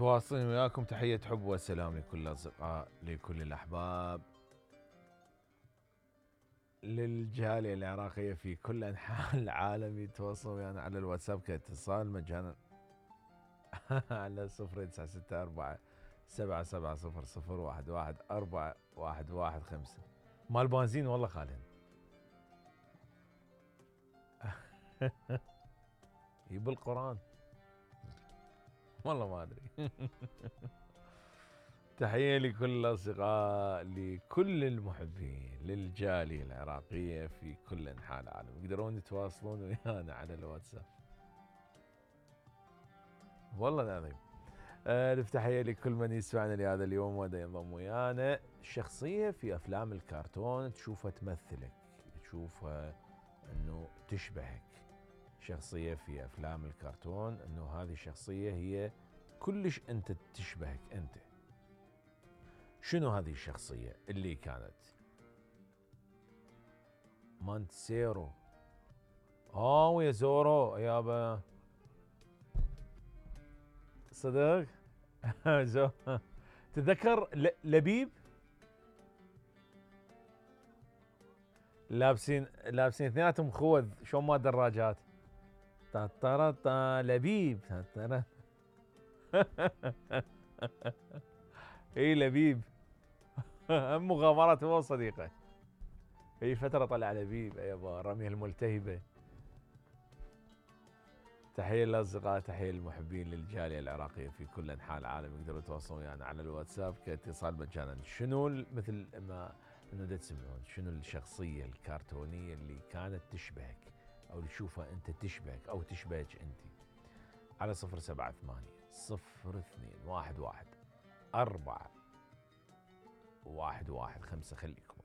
متواصلين وياكم. تحية حب والسلام لكل الأصدقاء، لكل الأحباب، للجالية العراقية في كل أنحاء العالم. يتواصلون ويانا على الواتساب كاتصال مجانا على 0964 7700 114 115 مال بنزين والله خالد. بالقرآن والله ما أدري. تحية لكل الأصدقاء، لكل المحبين، للجالية العراقية في كل أنحاء العالم. يقدرون يتواصلون ويانا على الواتساب والله العظيم. تحية لكل من يسمعنا لهذا اليوم ودا ينضم ويانا. شخصية في أفلام الكرتون تشوفها تمثلك، تشوفها أنه تشبهك. شخصية في أفلام الكرتون أنه هذه الشخصية هي كلش أنت تشبهك أنت. شنو هذه الشخصية اللي كانت؟ مانتسيرو. ويا زورو يابا صدق. تذكر لبيب لابسين اثنيناتهم خوذ شلون ما دراجات. لبيب. اي لبيب. مغامرات هو صديقه. في فترة طلع لبيب يابا رميه الملتهبة. تحية للأصدقاء، تحية للمحبين، للجالية العراقية في كل أنحاء العالم. يقدروا يتواصلون ويانا على الواتساب كاتصال مجانا. شنو مثل ما انه تسمعون شنو الشخصية الكرتونية اللي كانت تشبهك او اللي تشوفها انت تشبهك او تشبهك انت؟ على 078 02 11 4 115 خليكم.